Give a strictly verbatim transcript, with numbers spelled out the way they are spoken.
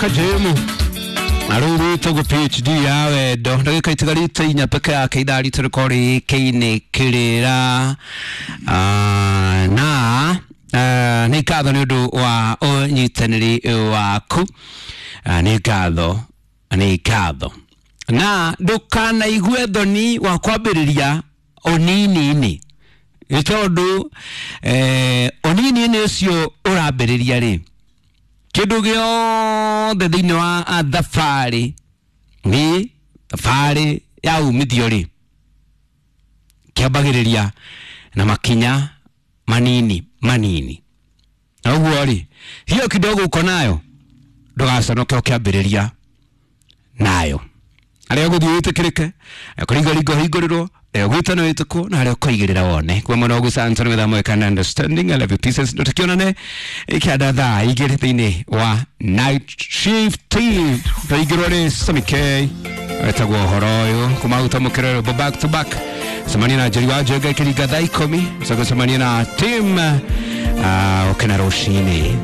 Kajemu na rĩu rwĩtagwo P H D ya wendo. Ndagĩka itigarĩte inya peke yake ithaa ritũ rĩkorwo rĩkĩinĩ kĩrĩra. Ah, na ah, nĩ ngatho nĩ ũndũ wa ũnyitanĩri waku. Ah, nĩ ngatho, nĩ ngatho, na ndũkanaigue thoni wa kwambĩrĩria ũnini-inĩ, nĩ tondũ eh, ũnini-inĩ ũcio ũrambĩrĩria rĩ, kĩndũ gĩothe thĩinĩ wa ah, thabarĩ, nĩ thabarĩ ya umithio rĩ, kĩambagĩrĩria na makinya manini manini. Na ũguo rĩ, hiyo kidogo uko nayo, ndũgaconoke ũkĩambĩrĩria nayo. Harĩa ũgũthiĩ wĩtĩkĩrĩke, kũringaringa ũhingũrĩrwo, harĩa ũgwĩtana wĩtĩkwo, na harĩa ũkoigĩrĩra wone kwa mwena ũguo. Santoni with American and understanding. I love you, pieces. Tũtikionane ikĩanda thaa igĩrĩ thĩinĩ wa night shift. Tũingĩrwo nĩ Sami K wetagwo ũhoro ũyũ kumaguta mũkĩrero back to back. Cemania na Njeri wa Njenga ĩkĩringa thaa ikũmi. Coka cemania na team uh, ũkena rũcinĩ.